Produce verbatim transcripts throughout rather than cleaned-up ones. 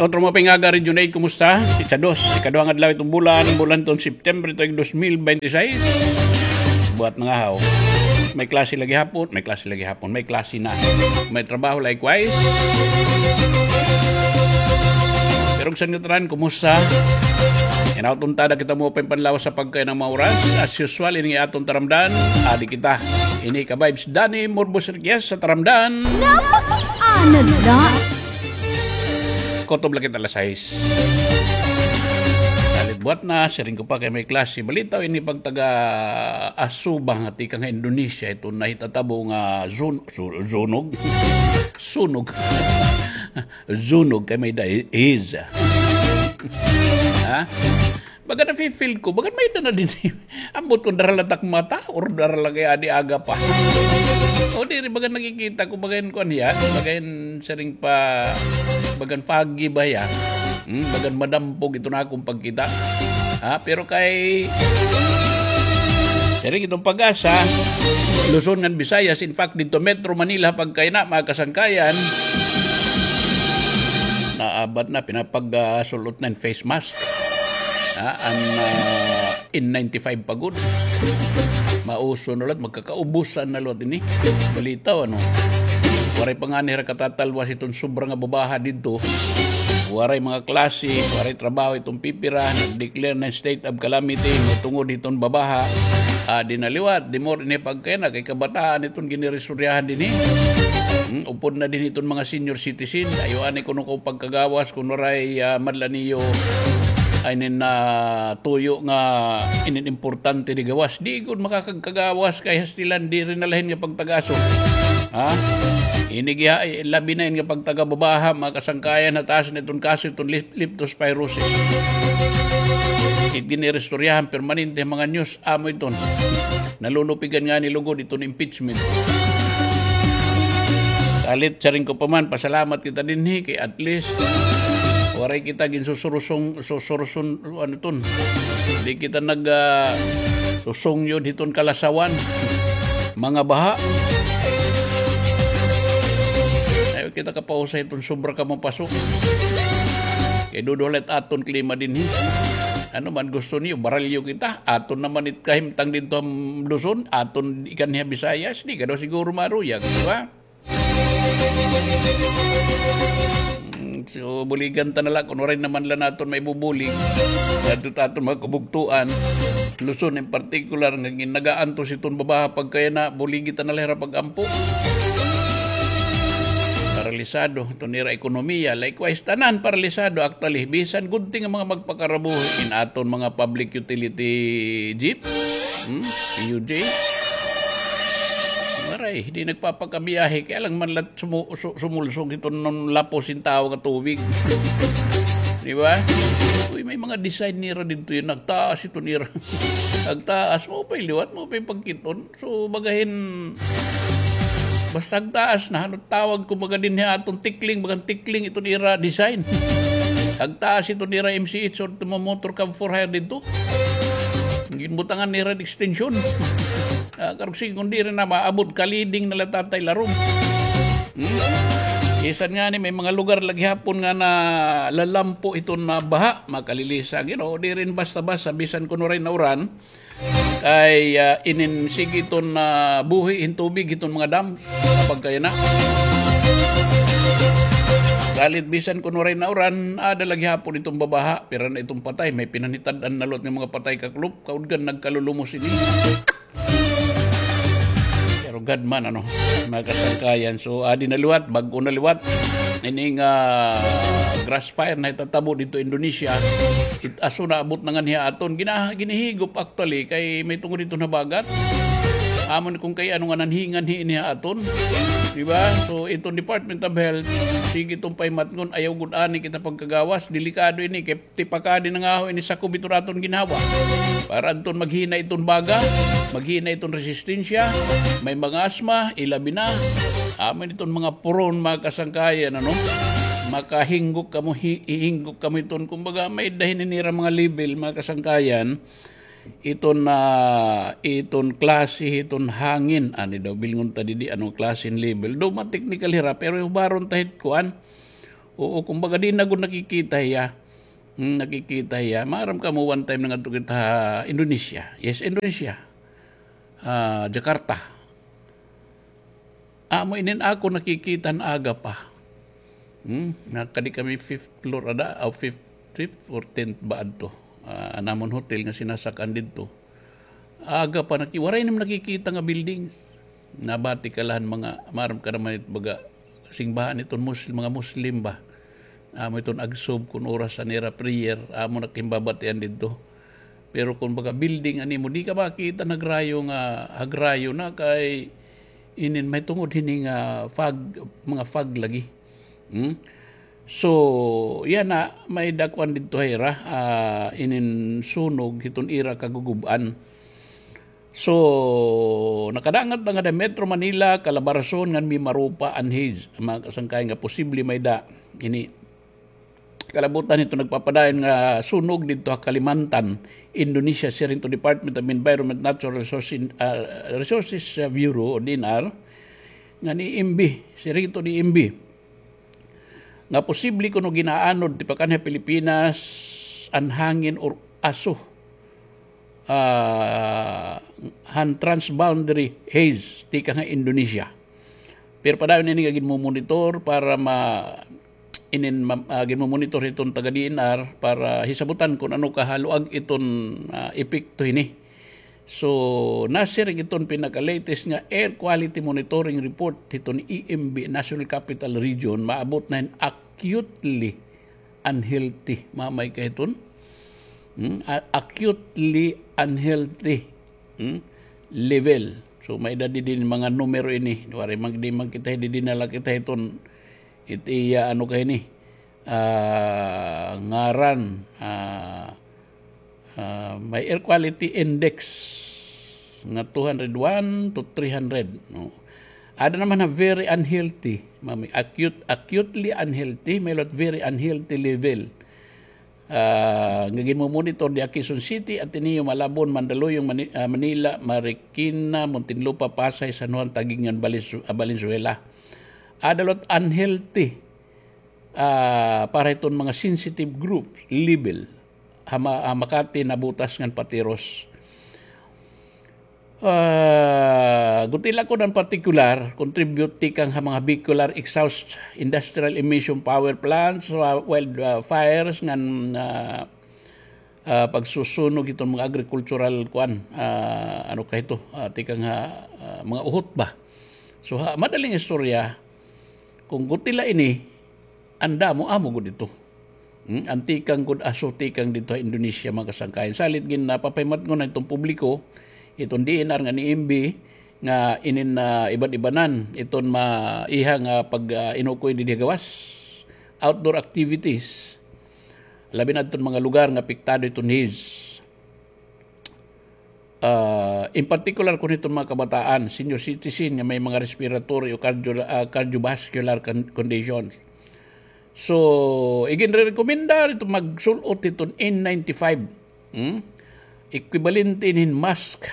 Otro mga pangaga, Region eight, kumusta? Ikadua, ikaduhang adlaw iton bulan, bulan iton September, tuig dos mil bente seis. Buhat na nga haw. May klase lagi hapon, may klase lagi hapon, may klase na. May trabaho, likewise. Pero sa ngatanan, kumusta? Hinaot unta kita mo panlawas sa pagkain nga mga oras. As usual, ini aton taramdan, adi kita. Ini ka vibes, Danny Morbos Riquez sa taramdan. Napakiana la. Kutob la kita alas sais. Salit buhat na, siring ko pa kay may klase. Balitaw ini pagtaga-asuba nga tikang ha Indonesia, iton nahitatabo nga zun-, su-, zunog. Sunog. Zunog kay may da-, is. Ha? Baga nafi-feel ko, baga may-ada na dinhi. Ambot kon dara la tak mata, or dara la kay adi aga pa. O diri, baga nakikita ko, baga hin kuan hiya, baga hin siring pa, baga hin foggy ba hiya? Hmm, baga hin madampog iton akon pagkita. Ha, pero kay siring iton PAGASA, Luzon ngan Visayas, in fact, didto Metro Manila, pagkaina, mga kasangkayan, naabat na, pinapag-, ah, sul-ot na hin face mask. Ha, an, ah, N ninety-five pa gud. Mauso na liwat, magkakaubusan na liwat ini. Balitaw, ano? Waray pa ngani hira katatalwas iton sobra nga babaha didto. Waray mga klase, waray trabaho iton pipira, nag-declare na state of calamity, tungod hiton babaha. Adi na liwat, the more ini pagkaina, kay kabataan iton giniristoryahan dinhi. Hmm, upod na dinhi iton mga senior citizen. Ayaw anay kuno ko pagkagawas, kun waray, ah, madla niyo, ay nin, ah, tuyo nga inin importante di gawas. Di gud makakagkagawas kay hastilan, diri na la hin nga pagtagaso. Ha? Ini giha, eh, labi na hin nga pagtagababaha, mga kasangkayan, ha taas na iton kaso, iton lip-, leptospirosis. It giniristoryahan, permanente, mga news, amo iton. Nalulupigan ngani lugod iton impeachment. Salit, siring ko pa man, pasalamat kita dinhi, kay at least, waray kita ginsusurusong, susuruson, ano ton. Di kita nag, ah, susungyod hiton kalasawan. Mga baha. Ayaw kita kapausay hiton sobra ka mapaso. Kay duduha la it aton klima dinhi. Ano man gusto niyo, baralyo kita. Aton naman it kahimtang didto ha Luzon, aton ikan niya Visayas, di ka daw siguro maruyag, di ba? Mm, so, buligan ta na la, kun waray naman la naton maibubulig. Adto ta aton mga kabugtuan. Luzon in particular, nga gin-, nagaantos iton babaha pagkaina, buligi ta na la hira pag-ampo. Paralisado iton ira ekonomiya. Likewise, tanan paralisado, actually. Bisan good thing nga mga magpakarabuhi in aton mga public utility jeep. Hmm? P U J. Maray, di nagpapakabiyahe. Kay alangan man la sumu-, su-, sumulsog iton lapos hin tawo nga tubig. Di ba? Uy, may mga design nira didto, nagtaas iton ira. Nagtaas, maupay liwat, maupay pagkit-on. So, baga hin, basta hagtaas na, ano tawag, kumbaga dinhi ha aton tikling, bagan tikling iton ira design. Hagtaas iton ira M C H or iton mga motor cab for hire didto. Ginbutangan nira hin extension. Ah, karuyag sige, kun diri na maabot, kaliding na la tatay larom. Hmm? Bisan ngani, may mga lugar la gihapon nga nalalampo iton baha, makalilisa. You know, diri basta-basta, bisan kun waray nauran, kay, ah, inin sige iton, ah, buhi hin tubig hiton mga dams, pagkaina. Salit bisan kun waray nauran, aada la gihapon iton babaha, pira na iton patay, may pinanhitad-an na liwat nga mga patay, kakulop, kaudgan nagkalulumos ini. Pero God man, ano, mga kasangkayan. So, adi na liwat, bag-o na liwat. Ini nga grass fire nahitatabo didto Indonesia, it-aso naabot na nganhi ha aton. Gina-, ginihigop actually kay may tungod iton habagat. Amo ni kun kay ano nga nanhi-nganhi ini ha aton. Di ba? So, iton Department of Health, sige iton pahimatngon, ayaw gud ani kita pagkagawas, delikado ini kay tipakadi na nga ho ini sakob iton aton ginhawa. Para adton maghina iton baga, maghina iton resistensya, may mga asma, ilabi na. Amo ini iton mga puron, mga kasangkayan, ano? Makahinggok kamo, hi-, hihinggok kamo iton, kumbaga, may-ada hini nira mga level, mga kasangkayan. Iton, ah, iton klase, iton hangin. Ani daw, bilngon ta didi, ano klase hin level. Daw, ma-technical hira, pero hubaron ta hit kuan. Oo, kumbaga, di na gud nakikita hiya. Hmm, nakikita hiya. Maaram kamo, one time nangadto kita ha Indonesia. Yes, Indonesia. Ah, Jakarta. Amo inin ako nakikita han aga pa. Hmm? Nakadi kami fifth floor ada, o fifth, fifth or tenth ba adto. Ah, an amon hotel nga sinasak-an didto. Aga pa naki-, waray nim nakikita nga buildings. Nabati ka la han mga, maaram ka naman it baga, singbahan iton Muslim, mga Muslim ba. Amo iton agsub kun oras an ira prayer, amo na kimbabatian didto. Pero kun baga building an imo, di ka makita han hagrayo nga, hagrayo na kay inin mahitungod hini nga fog, mga fog lagi. Hmm? So, yana, may-ada kuan didto ha ira, ah, inin sunog hiton ira kagugub-an. So, nakadangat na ngada Metro Manila, Calabarzon, ngan Mimaropa an haze. Mga kasangkayan nga posible may-ada ini kalabutan hito nagpapadayon nga sunog didto ha Kalimantan, Indonesia, siring to Department of Environment, Natural Resources, ah, Resources, ah, Bureau o DENR, ngan EMB, siring to EMB. Nga posible kuno gin-aanod tipakan ha Pilipinas an hangin or aso, ah, han transboundary haze tikang ha Indonesia. Pero padayon ini nga ginmomonitor para ma-, inin ma-, ah, ginmomonitor hiton taga DENR para hisabutan kun ano kahaluag iton, ah, epekto hini. So, nasiring iton pinaka-latest nga air quality monitoring report hiton EMB, National Capital Region, maabot na hin acutely unhealthy. Mamay ka hiton? Hmm? A-, acutely unhealthy, hmm, level. So, may-ada didi mga numero ini. Waray man, di man kita, didi na la kita hiton, it iya, ano ka hini, ah, ngaran, ah, ah, may air quality index nga two hundred one to three hundred, no? Ada naman nga very unhealthy, mami, acute, acutely unhealthy, may-ada very unhealthy level. Ah, nga ginmomonitor didi ha Quezon City, Ateneo, Malabon, Mandaluyong, Mani-, ah, Manila, Marikina, Muntinlupa, Pasay, San Juan, Taguig ngan Valenzu-, ah, Valenzuela. Ada la unhealthy, ah, para hiton mga sensitive group level. Ha Ma-, ha Makati, Navotas ngan Patiros. Ah, guti la kuno an partikular, contribute tikang ha mga vehicular exhaust, industrial emission power plants, ah, wildfires ngan, ah, ah, pagsusunog hiton mga agricultural kuan, ah, ano ka hito, ah, tikang ha, ah, mga uhot ba. So, ha madaling istorya, kun guti la ini, an damo amo gud ito. Hmm? An tikang gud aso tikang didto ha Indonesia, mga kasangkayan. Salit gin-, napapahimatngon na hiton publiko, hiton DENR ngan EMB, nga inin, ah, iban-ibanan iton ma-, iha nga pag, ah, inukoy didi ha gawas. Outdoor activities. Labi na hiton mga lugar nga apektado hiton haze. Ah, in particular, kun hiton mga kabataan, senior citizen nga may mga respiratory o cardio-, ah, cardiovascular con-, conditions. So, iginrerekomenda hiton magsul-ot hiton N ninety-five. Hmm? Equivalente hin mask.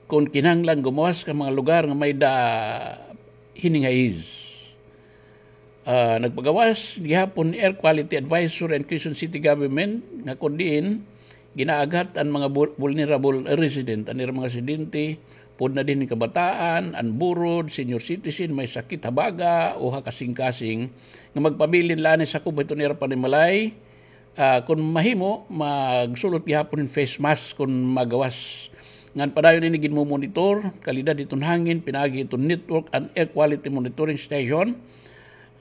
Kun kinahanglan gumawas ka mga lugar nga may-ada hini nga haze. Ah, nagpagawas gihapon air quality advisory an Quezon City Government nga kun diin ginaaghat an mga vul-, vulnerable resident, an ira mga residente, pud na dinhi kabataan, an burod, senior citizen, may sakit ha baga o ha kasingkasing, nga magpabilin la anay sakob hiton ira panimalay, ah, kun mahimo, magsul-ot gihapon hin face mask kun magawas. Ngan padayon ini ginmomonitor, kalidad hiton hangin, pinaagi hiton network an air quality monitoring station,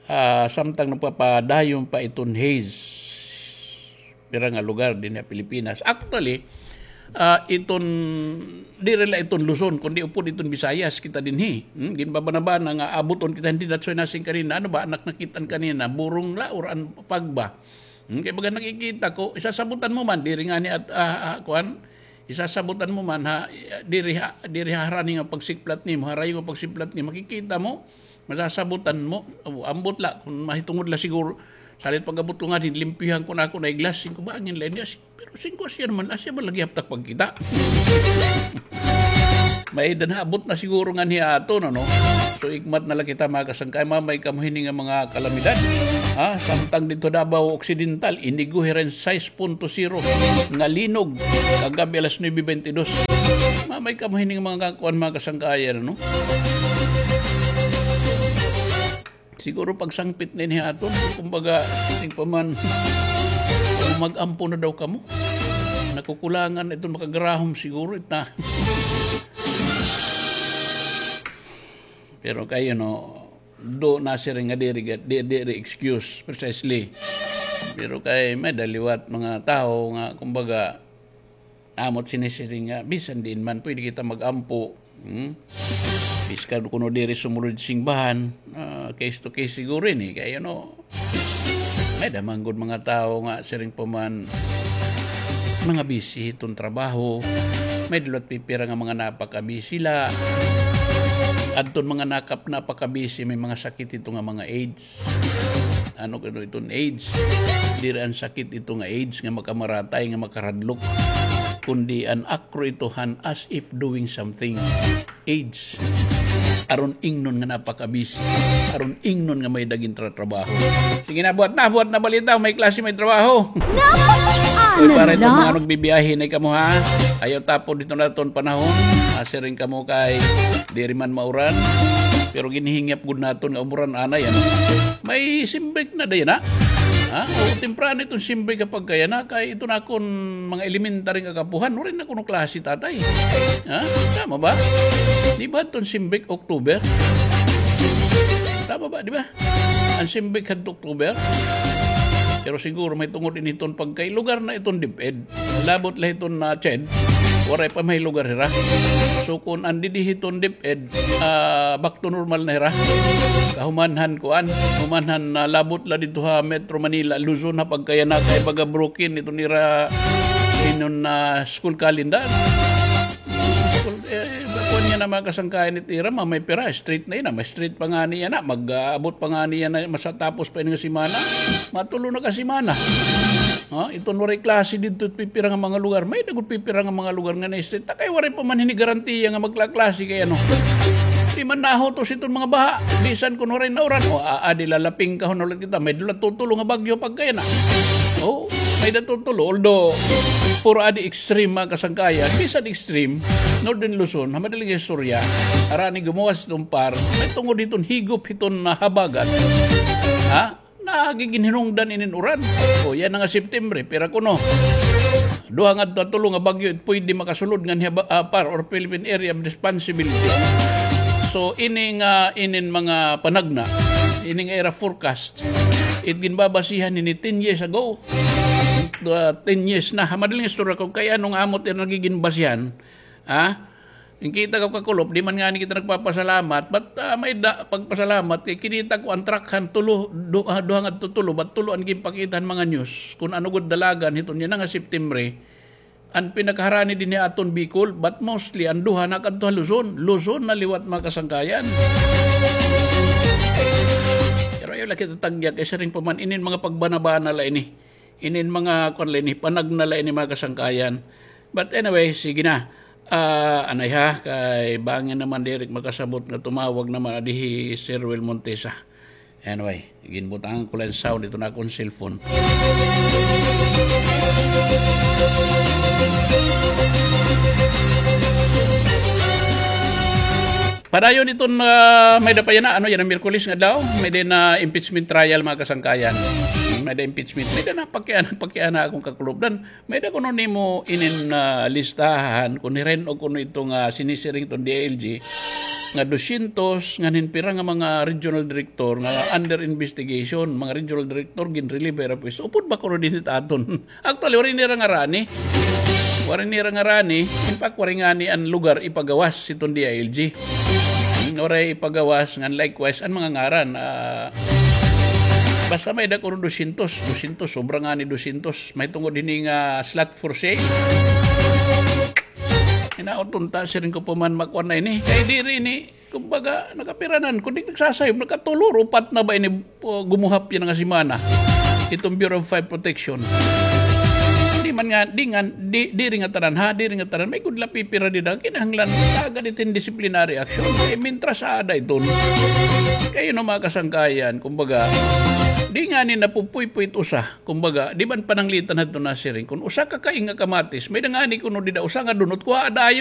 ah, samtang nagpapadayon pa iton haze pira nga lugar dinhi ha Pilipinas. Actually, ah, iton, diri la iton Luzon, kundi upod iton Visayas kita dinhi. Hmm? Ginbabanabana nga abuton kita dinhi, that's why nasiring kanina, ano ba, anak nakit-an kanina, burong la or an fog ba. Hmm, kay baga nakikita ko, isasabutan mo man, diri ngani at, ah, ah, kuan, isasabutan mo man ha, diri ha, diri ha harani nga pagsiklat nimo, harayo nga pagsiklat nimo, makikita mo, masasabutan mo, o, ambot la, kun mahitungod la siguro, salit pag-abot ko ngani, limpyuhan ko na ako na iglas, singko bangin la niya, si-, pero singko asya naman, asya ba lagi haptak pagkita? May danhabot na siguro ngani aton, ano? So, igmat na la kita, mga kasangkay, mamay kamo hini nga mga kalamidad. Ha? Samtang didto Davao Occidental, inigo hira hin sais punto zero nga linog kagab-i alas nuebe beintidos. Mamay kamo hini nga mga kuan, mga kasangkayan, ano? Siguro pagsangpit na ini ha aton. Kumbaga, siring pa man, mag-ampo na daw kamo. Nakukulangan iton makagarahom siguro, ita. Pero kay, you know, do nasiring nga diri, di, diri excuse, precisely. Pero kay may-ada liwat mga tawo nga, kumbaga, amo it sinisiring nga, bisan diin man, pwede kita mag-ampo. Hmm? Bisan kuno diri sumulod simbahan, ah, case to case siguro ini. Kay, you know, may-ada man gud mga tawo nga siring pa man mga busy hiton trabaho. May-ada liwat pipira nga mga napaka-busy la. Adton mga nakap-, napaka-busy, may mga sakit hito nga mga AIDS. Ano kuno iton AIDS? Diri an sakit ito nga AIDS nga makamaratay, nga makaradlok, kundi an akro ito han as if doing something. AIDS. Aron ingnon nga napaka-busy. Aron ingnon nga may-ada gintratrabaho. Sige na, buhat na, buhat na balita. May klase, may trabaho. Uy, para iton mga nagbibiyahe na kamo, ha? Ayaw tapod hito nga aton panahon. Siring kamo kay diri man mauran. Pero ginhihingyap gud naton nga umuran anay, ano? May simbik na dayon, ha? Ha? O, temprano iton simbik kapag kay yana, kay iton akon mga elementary nga kaapuhan, waray na kuno klase, tatay. Ha? Tama ba? Di ba iton simbik October? Tama ba, di ba? An simbik hadto October. Pero siguro mahitungod ini hiton pagkay lugar na iton DepEd. Labot la hiton, ah, CHED, waray pa may lugar hira. So, kun an didi hiton DepEd, ah, back to normal na hira. Kahuman han kuan, human han, ah, labot la didto ha Metro Manila, Luzon, ha pagkay yana kay baga broken iton ira hinon, ah, school calendar. School, eh, kuan yana, mga kasangkayan, it ira, ma-, may pira, straight na yana, may straight pa ngani yana, mag-aabot pa ngani yana, masatapos pa ini nga semana. Mga tulo na ka semana. Ha? Iton waray klase didto pipira nga mga lugar. May-ada gud pipira nga mga lugar nga na-straight. Ta kay waray pa man hini garantiya nga maglaklase kay ano. Di man nahutos iton mga baha. Bisan kun waray nauran. O, a-, adi lalapingkahon na ulit kita. May-ada la tutulo nga bagyo pagkay yana. O, may-ada tutulo. Although, puro adi extreme, mga kasangkayan. Bisan extreme, Northern Luzon, ha madaling istorya, harani gumuwas iton PAR, mahitungod hiton higop hiton, ah, habagat. Ha? Nagiginhinungdan inin uran. O, yana nga September, pira kuno? Duha ngadto ha tulo nga bagyo it pwede makasulod nganhi ha ba-, ah, PAR or Philippine Area of Responsibility. So, ini nga, inin mga panagna, ini nga ira forecast, it ginbabasihan hini ten years ago. Ah, ten years na. Ha madaling istorya, kun kay ano nga amo it ira nagiginbasihan, ha? Nakita ko, kakulop, di man ngani kita nagpapasalamat, but, ah, may-ada pagpasalamat kay kinita ko an truck han tulo, du-, ah, duha ngadto tulo, but tulo an ginpakita han mga news kun ano gud dalagan hiton yana nga September. An pinakaharani dinhi ha aton Bicol, but mostly an duha nakadto ha Luzon. Luzon na liwat, mga kasangkayan. Pero ayaw la kita tagya kay siring pa man inin mga pagbanabana la ini. Inin mga kuan la ini, panagna la ini, mga kasangkayan. But anyway, sige na. Ah, anay ha, kay bangin naman diri makasabot nga tumawag naman adi hi Sir Will Montesa. Anyway, ginbutangan ko la hin sound iton akon cellphone. Padayon iton, ah, may-ada pa yana, ano yana, Miyerkules nga adlaw, may-ada na impeachment trial, mga kasangkayan. May-ada impeachment, may-ada na pakiana, pakiana akon kakulop. Dan, may-ada kuno nimo inin, ah, listahan, kun hirin-og kuno ito nga sinisiring iton D I L G, nga dosyentos nganhin pira nga mga regional director nga under investigation, mga regional director, ginrelieve hira pwesto. Upod ba kuno dinhi ha aton? Actually, waray nira ngarani. Waray nira ngarani. In fact, waray ngani an lugar ipagawas hiton D I L G. Hmm, waray ipagawas, ngan likewise, an mga ngaran. Ah, basta may-ada kuno dosyentos, dosyentos, sobra ngani dosyentos. Mahitungod hini nga slot for sale. Hinaot unta, siring ko pa man, makuan na ini. Kay diri ini, kumbaga, nakapiranan. Kun di nagsasayop, nakatulo or upat na ba ini, uh, gumuhap yana nga semana. Iton Bureau of Fire Protection. Di Nga, di nga, di, diri nga tanan ha, diri nga tanan. May gud la pipira dida. Kinahanglan, taga ditin disciplinary action. Kay mintras ada iton. Kay, you know, mga kasangkayan, kumbaga, di nga ni napupuypuy it usa. Kumbaga, di man pananglitan hadto na siring. Kung usa ka kaing nga kamatis, may-ada ngani kuno dida, usa nga dunot, kuhaa dayon.